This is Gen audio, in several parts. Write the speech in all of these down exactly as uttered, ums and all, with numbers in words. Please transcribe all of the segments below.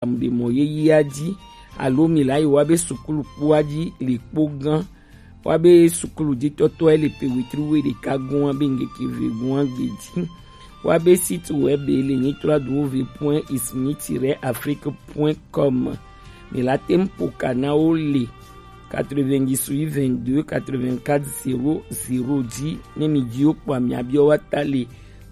ɖe mɔ yeyea ji, alo mi la yi wa be sukulu kpoa ji le kpo gã, wa be sukulu jitɔtɔe le pe wetri we ɖeka gɔn wa be ŋgeke ve gɔn agbe ji. Wa be site web le nyitɔ adu wo ve point ismi tiret afrique point com. Mi la tem poka na wo le quatre-vingt-dix-huit vingt-deux quatre-vingt-quatre zéro zéro ji, ne mi ji wo kpɔa mi abiɔ wa ta le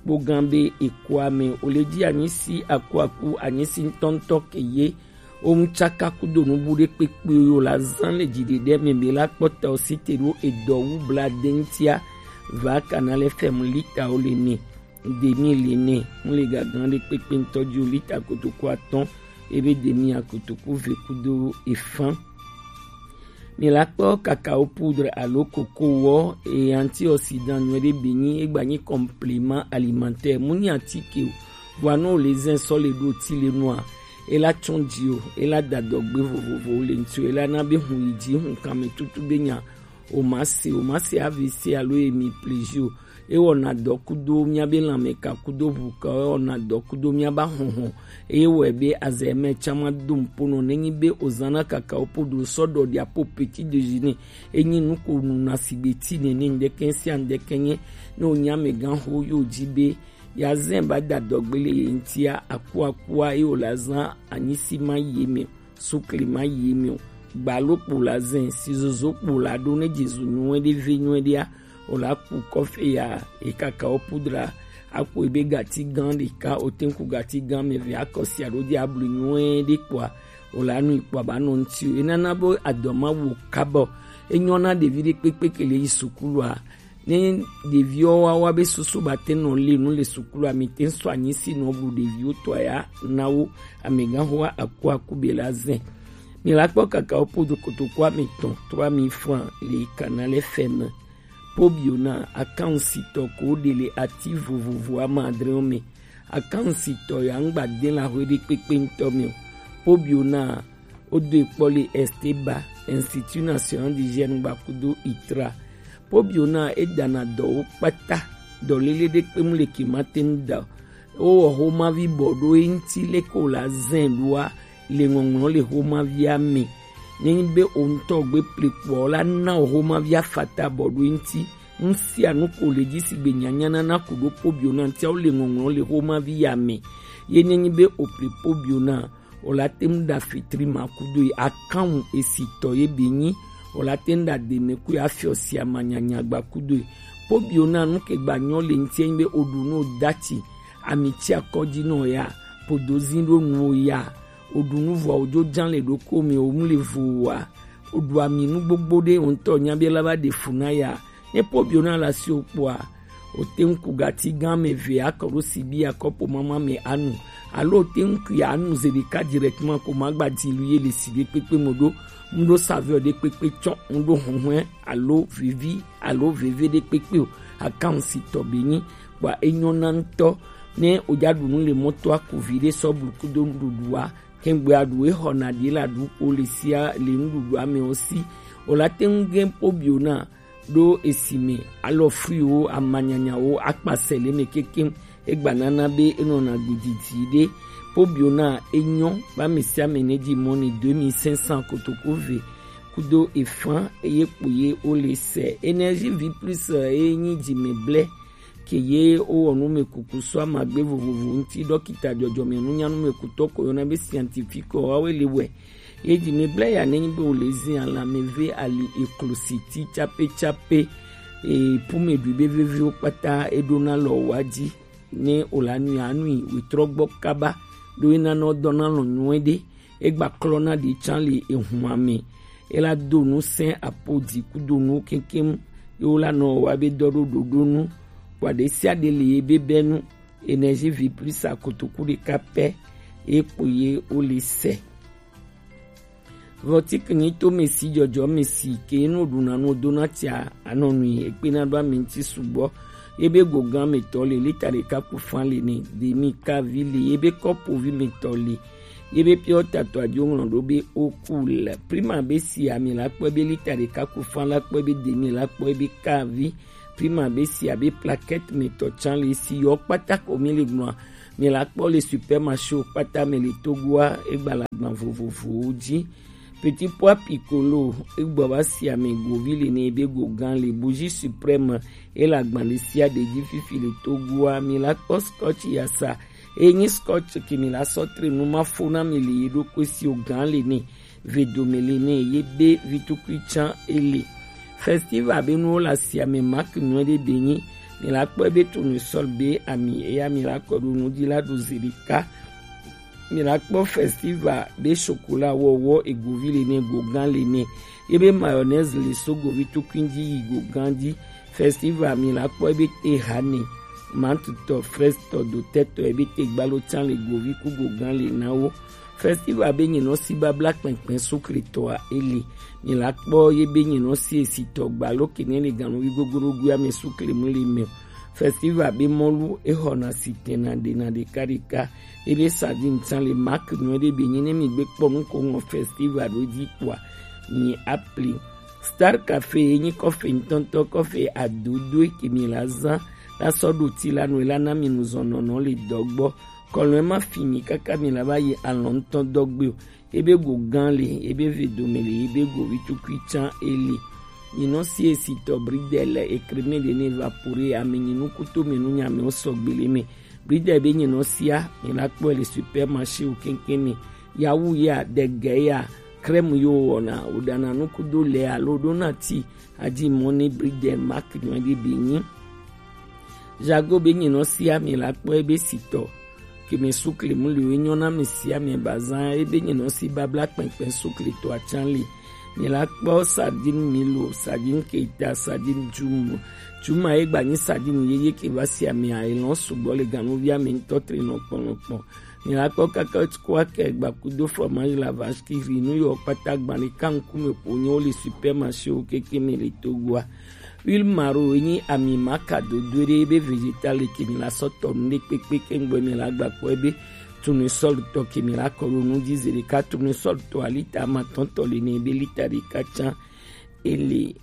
kpo gã be ekua me o le ji anyisi akuaku anyisi ŋutɔŋutɔ ke ye. Wo ŋutsaka kudo nubu ɖe kpekpe yo la zan le dziɖeɖe me be la kpɔtɔ site ɖo edɔ wu bla de ŋutia va kana le fɛmu lita wo le ne. Demi le ne, ŋu le gagan ɖe kpekpe ŋutɔ ji o lita kotoku atɔ̃, ebe demi akotoku ve kudo efan. Mi la kpɔ kakao poudre alo koko wɔ, e antioxydant nyuie ɖe be nyi, egba nyi complément alimentaire, mu nyi atike o. Vɔa ne o le zɛn sɔ le ɖo ti le nua, e la tsɔn ji o, e la da dɔgbe vovovowo le ŋuti o, e la na be hun yi ji, hun kanme tutu be nya o ma se, o ma se A V C alo emi plezi o. E wɔna dɔ kudo miabe lanmeka kudo ʋuka, e wɔna dɔ kudo miaba hɔhɔ. Eye wɔe be azɛ mɛ tsã ma do ŋpo nɔ nenyi be o zana kakao poudre sɔ ɖɔ ɖia po petit déjeuner. Enyi nu ko nu na sigbe ti nene ŋdɛkɛ sia ŋdɛkɛ nye ne o nya mɛ gan ho yo ji be ya zɛn ba da dɔgbe le ye ŋtia akuakua ye o la zan anyisi ma ye mɛ. Sukli ma yi mi o. Gbalo kpo la zɛn, sizozo kpo la ɖo ne Jesu nyuie ɖe ve nyuie ɖea, o la ku kɔfe ya, e kakao poudre a, akpo ebe gati gan ɖeka, o te ŋu ku gati gan mɛ ve akɔsi aɖo de ablu nyuie ɖe kpɔa, o la nu kpɔa ba nɔ ŋuti o. Enana be adɔ ma wo kabɔ. Enyɔ na ɖevi ɖe kpekpe ke le yi sukulua. Ne ɖeviwo wa wa be susu ba te nɔ le nu le sukulu a, mi te sɔ anyi si nɔ bu ɖeviwo tɔ ya na wo amegã ho aku aku be la zɛn. Mi la kpɔ kakao poudre kotoku ame tɔn trois mille francs le Canal F M. Pobio na akansi tɔ ko ɖe le ati vovovo ama adre me. Akansi tɔ ya ŋgba de la hwe ɖe kpekpe ŋutɔ me o. Pobio na Wo do e kpɔ le Esteba, Institut National d'Hygiène gba kudo itra. Pobio na e dana dɔwo kpata, dɔ lele ɖe kpe mu le ke ma te ŋu da o. Wo wɔ homavi bɔ ɖo e ŋuti le ko la zɛn ɖoa le ŋɔŋlɔ le homavia me. Ne nyi be o ŋutɔ gbe ple kpɔ la na o homavia fata bɔ ɖo e ŋuti. Nu sia nu ko le dzi sigbe nyanya nana ku ɖo pobio na ŋutia wo le ŋɔŋlɔ le homavi ya me. Ye ne nyi be o ple pobio na o la te ŋu ɖa fitri ma kudo yi akanwu esitɔ ye be nyi. O la te ŋu ɖa deme ku ya fiɔ si amanyanya gba kudo yi. Pobio na nu ke gba nyɔ le ŋuti nyi be o ɖu nu o dati ami tsi akɔdzi nɔ ya podo zi ɖo nu o ya. O ɖu nu vɔ o dzo dzan le ɖoko mi o mu le vo wa. O ɖu ami nu gbogbo ɖe o ŋutɔ nya be la va ɖe fu na ya. Ne pobio na la si o kpɔa, o te ŋu ku gati gã me ve akɔ ɖo sibi akɔpo mama me anu. Alo o te ŋu ku ya anu ze ɖeka directement ko ma gba di lu ye le si ɖe kpekpe mo ɖo. Ŋu ɖo saveur ɖe kpekpe tsɔ, ŋu ɖo huhun alo vivi alo veve ɖe kpekpe o. Akansi tɔ be nyi kpɔa enyɔ na ŋutɔ. Ne o ja ɖu nu le mɔto aku vi ɖe sɔ blu kudo nuɖuɖua, kɛŋgbɛ aɖu e xɔ na ɖi la ɖu o le sia le nuɖuɖua me o si. O la te ŋu gɛ pobio na ɖo esi me alɔ fruitwo amanyanyawo akpasɛ le me kekeŋ. Egba nana be enɔna gbididi ɖe. Pobio na enyɔ ba me sia me ne dzi mɔ ni deux mille cinq cents kotoku ve kudo efan eye kpo ye o le sɛ. Énergie vie plus eye nyi dzi me blɛ ke ye wowɔ numekuku so amagbe vovovo ŋuti. Ɖɔkita dzɔdzɔme nunya numekutɔ ko yɔna be scientifique wawe le wɛ. Ye dzi me bla ya ne nyi be wo le zi alame ve ali eklo siti tsape tsape. E pume ɖui be veviwo kpata eɖona lɔ wa dzi. Ne o la nui anui wetrɔ gbɔ kaba ɖo ena nɔ dɔna lɔ nyuie ɖe. Egba klɔna ɖe tsan le ehun ame. Ela do nu sɛn apodi kudo nu kekem. Ye wo la nɔ wa be dɔ ɖo ɖoɖo nu. Kpɔ ɖe sia ɖe le ye be bɛ nu. Énergie vie plus akotoku ɖeka pɛ ye kpo ye wo le sɛ. Vɔtik nyi to mesi dzɔdzɔ mesi ke nu ɖuna nu dona tia anɔ nui ekpe na ɖo ame ŋuti sugbɔ. Ye be gogan me tɔ le lita ɖeka ku fan le ne demi kavi le ye be kɔpovi me tɔ le. Ye be piɔ tatɔ adio ŋlɔ ɖo be oku le prima be si ami la kpɔ be lita ɖeka ku fan la kpɔ be demi la kpɔ be kavi. Prima be si abe plaquette me tɔ tsan le si yɔ kpata ko mi le gblɔa Mi la kpɔ le supermarché wo kpata mɛ le Togoa, egba le agban vovovowo ji. Petit pois piccolo, egbɔ va si ame govi le ne ebe go gan le. Bougie suprême, e le agban ɖe sia ɖe ji fifi le Togoa. Mi la kpɔ scotch yasa, e nyi scotch ke mi la sɔ tre nu ma fo na mi le ye ɖokui si o gan le ne. Vedome le ne ye be vitukui can ele. Festival be nuwo le asia me, marque nyuie ɖe be nyi. Mi la kpɔ ebe tournesol be ami eya mi la kɔ ɖo nu ji la ɖo zi ɖeka. Mi la kpɔ festival be chocolat wɔwɔ egovi le ne, gogan le ne. Ye be mayonnaise le so govi tukui ji yi gogan ji. Festival mi la kpɔ ebe te hane, mantutɔ, frestɔ, dotɛtɔ ebe te gbalo can le govi ku gogan le na wo. Festival be nyinɔ si babla kpɛnkpɛn sukletɔa ele. Mi la kpɔ ye be nyinɔ si esitɔ gbalo kene le ganuvi gogorogoa me sukle mu le mɛ. Festival be mɔlu exɔna si tɛna ɖena ɖeka ɖeka. Ye be sardine can le marque nyuie ɖe be nyi ne mi gbe kpɔ nu ko ŋɔ festival ɖo ji kpɔa, mi apli. Star Café ye nyi kɔfe ŋutɔŋutɔ, kɔfe adodoe ke mi la zã la sɔ ɖo ti la nu la na mi nu zɔn nɔnɔ le dɔ gbɔ. Kɔlɔn ma fi mi kaka mi la va yi alɔn ŋutɔ dɔ gbe o. Ebe go gan le, ebe ve dome le, ebe go vitukui can ele. Nyinɔ si esitɔ bridel ekreme le ne evapore ame nyinu kuto me nu nyame o sɔgbe le me. Bridel be nyinɔ sia mi la kpɔ le supermarché o kenkene. Yawu ya, dege ya, crème yo wɔna, o ɖana nu kudo le alo ɖo na ti. Aji mɔ ne bridel marque nyuie ɖe be nyi. Jago be nyinɔ sia mi la kpɔ ebe sitɔ. Ke me sukle mu le o, enyɔ na mi sia mi bazã, ebe nyinɔ si babla kpɛnkpɛn sukletɔ acan le. Mi la kpɔ sardine milo, sardine keta, sardine jumu. Juma ye gba nyi sardine ye ye ke va sia mi a elɔn sugbɔ le ganuvia mi ŋutɔ tre nɔ kpɔnɔkpɔn. Mi la kpɔ kaka kua ke gba kudo fromage la vache qui rit nu yo kpata gba le ka ŋkume ƒo nyo le supermarché o keke me le Togoa. Huile maro enyi ami maka dodo ɖe be vegetal ke mi la sɔ tɔ nu ɖe kpekpe ke ŋgbɔ mi la gba kpɔ ebe tournesol tɔ ke mi la kɔ ɖo nu ji zi ɖeka. Tournesol tɔ alita amatɔntɔ le ne be lita ɖeka can ele.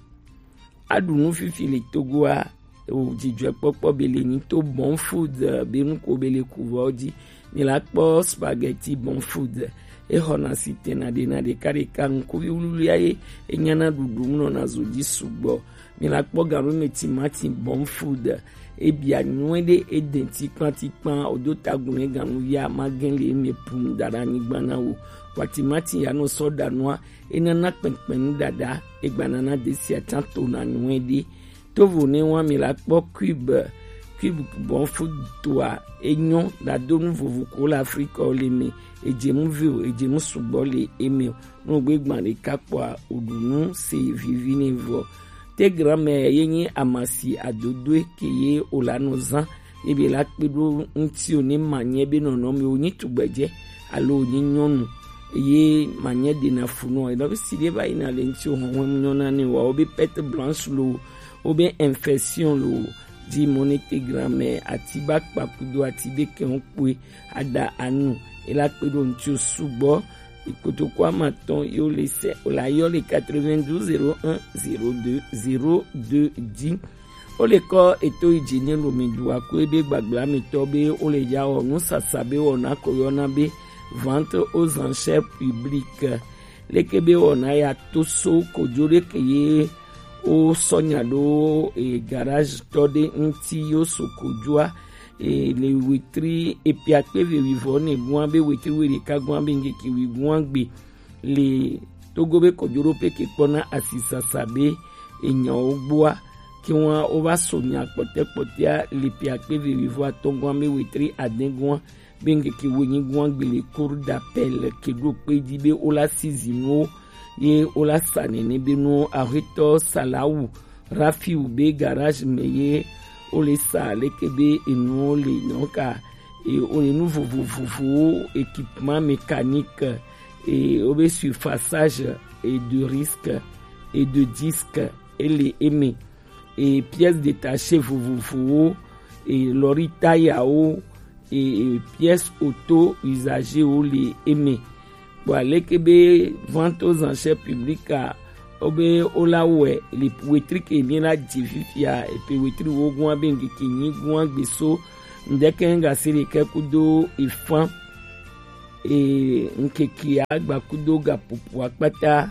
Aɖu nu fifi le Togoa, o dzidzɔkpɔkpɔ be le nyi to Bon Food, eh, be nu ko be le kuvɔ ji. Mi la kpɔ spaghetti Bon Food, exɔna si tena ɖena ɖeka ɖeka ŋkuvi wluwlua ye enyana ɖuɖu mu nɔna zo ji sugbɔ. Mi la kpɔ ganu me timati Bon Food, ebia nyuie ɖe eden tikpan tikpan, o do tagun ne ganuvia ma gen le eme pum da ɖe anyigba na wo. Wa timati ya nɔ sɔ ɖa nua, enana kpɛnkpɛn nu ɖaɖa, egba nana desia can tona nyuie ɖe. Tovo ne wa mi la kpɔ cube, cube Bon Food toa, enyɔ ɖado nu vovo ko le Afrika o le me, edze mu vi o, edze mu sugbɔ le eme o. Nu gbe gban ɖeka kpɔa, oɖu nu se vivi ne vɔ. Te grand-mère ye nyi amasi adodoe ke ye o la nɔ zã, ye be la kpe ɖo ŋuti o ne manyɛ be nɔnɔme o nyi tugbɛdze alo o nyi nyɔnu, ye manyɛ ɖena fu nɔ. Enɔ be si ɖe va yina le ŋuti o hɔnhɔn nyɔna ne wa, o be perte blanche lo, o be infection lo, ji mɔ ne te grand-mère ati ba kpa kudo ati be kɛn o kpoe aɖa anu, e la kpe ɖo ŋuti o sugbɔ. Ikotoko amatɔn yo le sɛ o la yɔ le quatre-vingt-douze zéro un zéro deux zéro deux ji. O le kɔ eto yi dzi ne lomi du aku ebe gbagba mi tɔ be o le ya wɔ nu sasa be wɔna ko yɔna be vente aux enchères publiques. Leke be wɔna ya to so kodzo ɖe ke ye o sɔ nya ɖo e garage tɔ ɖe ŋuti yo so kodzoa. E le wetri epiakpe ve wivɔ ne gua be wetri we ɖeka gua be ŋgeke wi gua gbe le Togo be kɔjoɖoƒe ke kpɔna asisasa be enyawo gbɔa, ke wa wo va so nya kpɔtɛ kpɔtɛa le epiakpe ve wivɔ atɔ gua be wetri ade gua be ŋgeke wo nyi gua gbe le cour d'appel ke ɖo kpe ji be wo la si zinuwo ye wo la sa nene be nuwo. Ahetɔ Salawu Rafiu be garage me ye wo le sa leke be enuwo le nyɔ ka e wo le nu vovovowo, équipement mécanique, e wo be surfaçage et de risque et de disque e le eme, e pièces détachées vovovowo, e lɔri tayawo, e, e pièces auto usagées wo le eme. Kpɔ aleke be vente aux enchères publiques a, wo be wo la wɔe le wetri ke mi la dzi fifia, epe wetri wo gua be ŋgeke nyi gua gbe so Ndeke gasiri ke kudo ifan e nkeke agba kudo gapupu akpata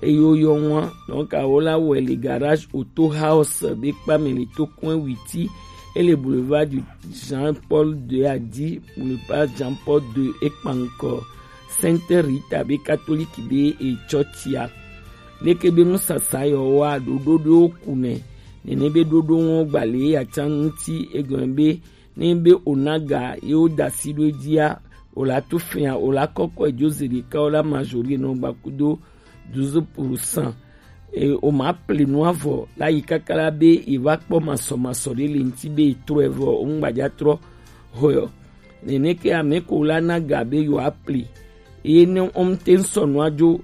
eyo yo ŋua. Donc awo la wɔ le garage Auto House be kpa me le to coin Witi, e le boulevard du Jean Paul deux a di, boulevard Jean Paul deux e kpa ŋkɔ Sainte Rita be catholique be e church a. Leke be nusasa yɔ wa ɖoɖo ɖo ku nɛ. Nene be ɖoɖo ŋɔ gbale ya can ŋuti egɔn be ne be o na ga ye wo da si ɖo dzi a, o la to fia, o la kɔkɔ e jo ze ɖeka, o la majori nɔ gba kudo douze pour cent. E, o ma ple nu avɔ la yi kaka la be e va kpɔ masɔmasɔ ɖe le ŋuti be e trɔ e vɔ o ŋgbaja trɔ hɔ yɔ. Nene ke ame ko la na ga be yewo apli. Eye ne wɔm te ŋsɔ nua dzo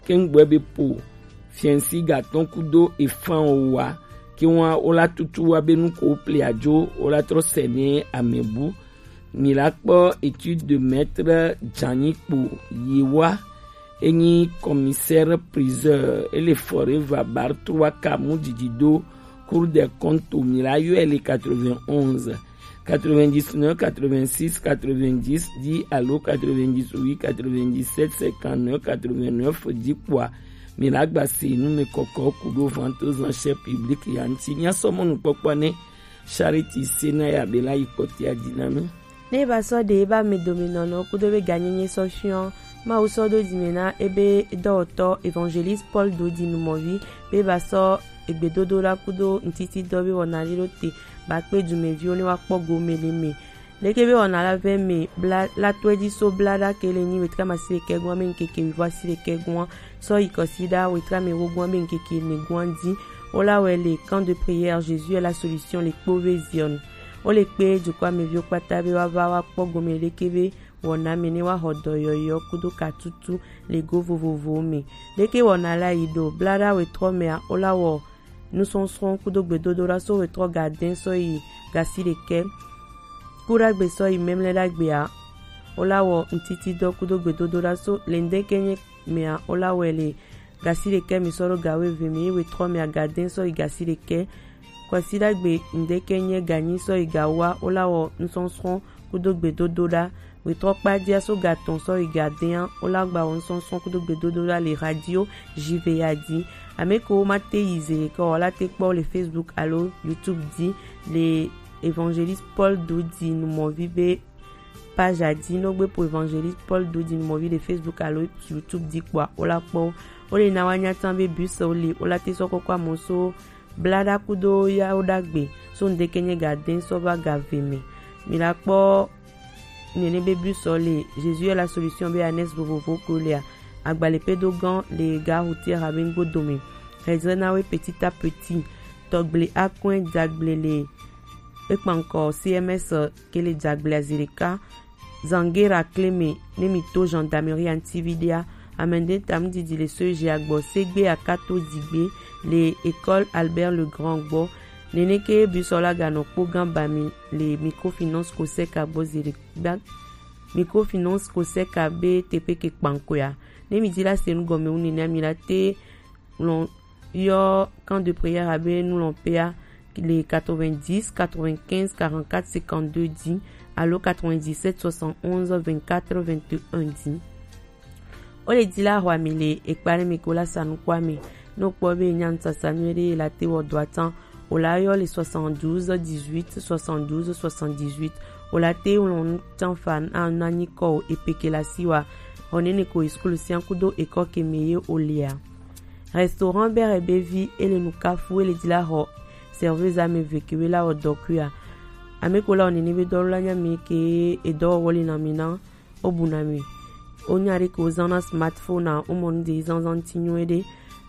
ke ŋgbɔe be po fiɛnsi gatɔn kudo efan o wa ke wa o la tutu wa be nu ko pli adzo o la trɔ sɛ ne amebu. Mi la kpɔ étude de maître Dzanyikpo Yewa, enyi commissaire priseur, ele Forever bar trois ka mu didi do Cour des comptes, mi la yɔe le quatre-vingt-onze, quatre-vingt-dix-neuf, quatre-vingt-six, quatre-vingt-dix dix alo quatre-vingt-dix-huit, quatre-vingt-dix-sept, cinquante-neuf, quatre-vingt-neuf dix kpoa, mi la gba se nu me kɔkɔ kudo vente aux enchères publiques ya ŋuti. Mia sɔ mɔnukpɔkpɔ ne Charity Sena ya be la yi kpɔtia di na mi. Ne ba sɔ de ba me dominɔnɔ kudo be ganyenye sɔ fiɔ, ma wo sɔ do di me na ebe dɔwɔtɔ évangéliste Paul Dodi Numɔvi be ba sɔ egbedodo la kudo ŋtiti dɔ be wɔna li ɖo te ba kpe dumeviwo ne wa kpɔ gome le me. Leke be wɔna la vɛ me bla la tɔe di so bla ɖa ke le nyi wetra masi le kɛ gɔn me ŋkeke wivɔ asi le kɛ gɔn sɔ yi kɔsiɖa wetra me wo gɔn be ŋkeke ne gɔn di. Wo la wɛ le camp de prière Jésus est la solution le kpo ve Zion. Wo le kpe dukɔ ameviwo kpata be wa va wa kpɔ gome leke be wɔna me ne wa xɔ dɔ yɔyɔ kudo katutu le go vovovowo me. Leke wɔna la yi ɖo bla ɖa wetrɔ mea wo la wɔ nusɔsrɔ̃ kudo gbedodoɖa so wetrɔ gadɛn sɔ yi gasi ɖekɛ. Kuɖagbe sɔ yi mɛmlɛ ɖagbea, wo la wɔ ŋtiti dɔ kudo gbedodoɖa so le ŋdɛkɛ nye mea, wo la wɛ le gasi ɖekɛ mi sɔ ɖo gawo eve mi, ye wetrɔ mea gadɛn sɔ yi gasi ɖekɛ. Kwasiɖagbe ŋdɛkɛ nye ganyi sɔ yi gawoa, wo la wɔ nusɔsrɔ̃ kudo gbedodoɖa. Wetrɔ kpadia so gatɔn sɔ yi gadɛa, wo la gba wɔ nusɔsrɔ̃ kudo gbedodoɖa le radio J V A di. Ame ko wo ma te yi ze ke o la te kpɔ le Facebook alo YouTube di le Évangéliste Paul Dodi Numɔvi be page a di. No gbe po Évangéliste Paul Dodi Numɔvi le Facebook alo YouTube di kpɔa, wo la kpɔ wo. Wo le na wa nya tan be bus wo le, wo la te sɔ kɔkɔ amɔ so bla ɖa kudo yawo ɖagbe so ŋdɛkɛ nye gadɛn sɔ va gave me. Mi la kpɔ nene be bus sɔ le Jésus est la solution be anexe vovovo ko lea, agbalẽ pe do gɔn le gare routière abe ŋgbo dome. Hedzre na we petit à petit. Tɔgble akɔe dagble le ekpankɔ C M S ke le dagble azi ɖeka. Zangera kle me ne mi to gendarmerie antividea. Amende tam didi le so je agbɔ segbe akato digbe le école Albert le Grand gbɔ. Nene ke bus sɔ la ganɔ kpo gan ba mi le microfinance ko seka gbɔ zi ɖe gba. Microfinance ko seka be teƒe ke kpankoea. Ne mi di la se nu gɔme wu nene mi la te lɔn yɔ camp de prière abe nu lɔn pea le quatre-vingt-dix, quatre-vingt-quinze, quarante-quatre, cinquante-deux di alo quatre-vingt-dix-sept, soixante-onze, vingt-quatre, vingt et un di. Wo le di la xɔ ami le ekpa ɖe mi ko la sa nu kpɔ ami. Ne o kpɔ be nya nu sasa nyuie ɖe la te wɔ dɔ atan, o la yɔ le soixante-douze, dix-huit, soixante-douze, soixante-dix-huit. O la te lɔn nu tan fa na na nyi kɔ o epeke la si wa. Xɔ nene ko e school sia kudo ekɔ ke me ye o lea. Restaurant Bere be vi e le nu kafu e le di la xɔ serveuse ame ve ke we la wɔ dɔ kui a. Ame ko la wɔ nene be dɔ la nya mi ke e dɔ wɔ le na mi na o bu na mi. O nya ɖe ke o zan na smartphone a o mɔ nu de zanzan ti nyuie ɖe.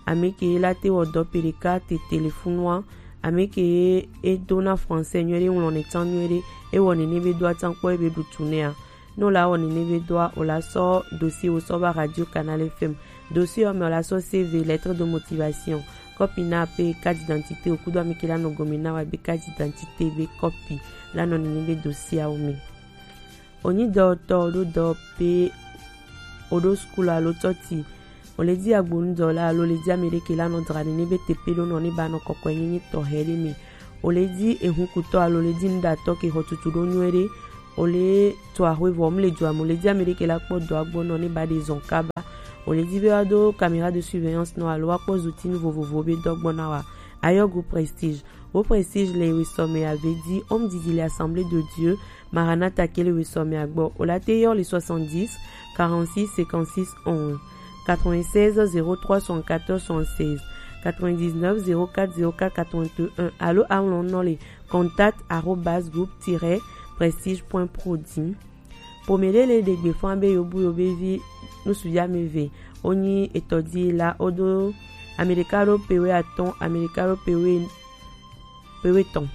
Ame ke la te wɔ dɔ pe ɖeka te telefonu a. Ame ke e do na français nyuie ɖe ŋlɔ ne tan nyuie ɖe e wɔ nene be do atan kpɔ e be ɖu tu ne a. Ne o la wɔ nene be dɔa, o la sɔ dossier wo sɔ va Radio Canal F M. Dossier ɔ me o la sɔ C V, lettre de motivation, kɔpi na pe carte d'identité o kudo ami ke la nɔ gɔme na wa be carte d'identité be kɔpi la nɔ nene be dossier awo me. O nyi dɔtɔ o ɖo dɔ pe o ɖo school alo tɔti, o le di agbonu dɔ la alo le di ame ɖe ke la nɔ dra nene be tepe ɖo nɔ ne ba nɔ kɔkɔe nyenye tɔxɛ ɖe me. O le ji ehunkutɔ alo o le ji nuɖatɔ ke xɔ tutu ɖo nyuie ɖe. O le to axwe vɔ mu le dua me, o le ji ame ɖe ke la kpɔ dɔa gbɔ nɔ ne ba ɖe zɔn kaba. O le ji be wa do caméra de surveillance nɔ alo wa kpɔ zutinu vovovo be dɔ gbɔ na wa. Ayɔ gu Prestige. Wo Prestige le wesɔme ave di, homme didi le Assemblée de Dieu, Maranatha ke le wesɔme agbɔ. O la te yɔ le soixante-dix, quarante-six, cinquante-six, onze, quatre-vingt-seize, zéro trois, soixante-quatorze, soixante-seize, quatre-vingt-dix-neuf, zéro quatre, zéro quatre, quatre-vingt-un, alo aŋlɔ nɔ le contact arobase groupe tiret prestige point pro di. Ƒome ɖe le ɖe gbe fã be yobu yobevi nusu ya me ve. Wonyi etɔdi la, wodo ame ɖeka ɖo pewe atɔ̃, ame ɖeka ɖo pewe pewe tɔ̃.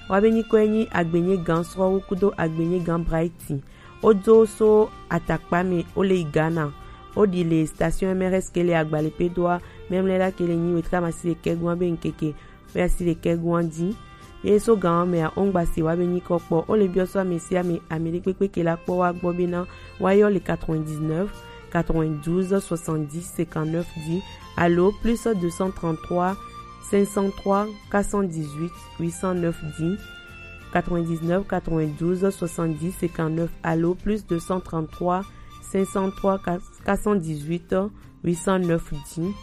Wa be nyikɔe nyi Agbenye Gan Srɔ̃wo kudo Agbenye Gan Brighton. Wodo so atakpa me, wo le yi Ghana. Wo ɖi le station M R S ke le Agbalepedoa, memle la ke le nyi wetri amasi ɖekɛ gua be ŋkeke oya si ɖekɛ gua di. Ye so gan mea, ongba si wa be nyikɔ kpɔ. O le biɔ so ame si ame, ame ɖe kpekpe ke la kpɔ wa gbɔ be na wa yɔ le quatre-vingt-dix-neuf, quatre-vingt-douze, soixante-dix, cinquante-neuf di, alo plus deux cent trente-trois, cinq cent trois, quatre cent dix-huit, huit cent neuf di, quatre-vingt-dix-neuf, quatre-vingt-douze, soixante-dix, cinquante-neuf, alo plus deux cent trente-trois, cinq cent trois, quatre cent dix-huit, huit cent neuf di.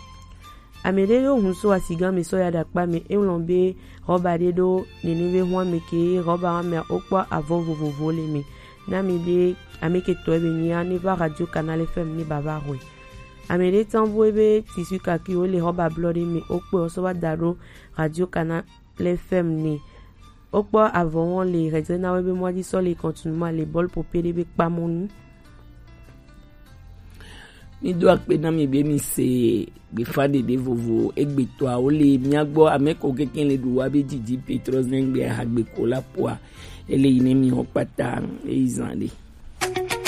Ame ɖe ɖo hun so asigan me sɔ ya ɖakpa me, e ŋlɔ be rɔba ɖe ɖo nene be hua me ke rɔba wa mea, wokpɔ avɔ vovovo le me. Na ame ɖe ame ke tɔe be nyia, ne va Radio Canal F M ne bava hɔe. Ame ɖe tsan bu ebe tissu kaki wo le rɔba blɔ ɖe me, wokpɔe wo sɔ va da ɖo Radio Canal F M ne. Wokpɔ avɔ wɔn le hedzre na wo be mɔa dzi sɔ le kɔntinu ma le bɔl pope ɖe be kpamɔnu. Mi do akpe na mi be mi se gbefa ɖeɖe vovo egbetɔawo le mia gbɔ. Ame ko keke le ɖu wa be didi Petro zengbe hagbe ko la poa. Ele yi ne mi ho kpata eyi zan ɖe.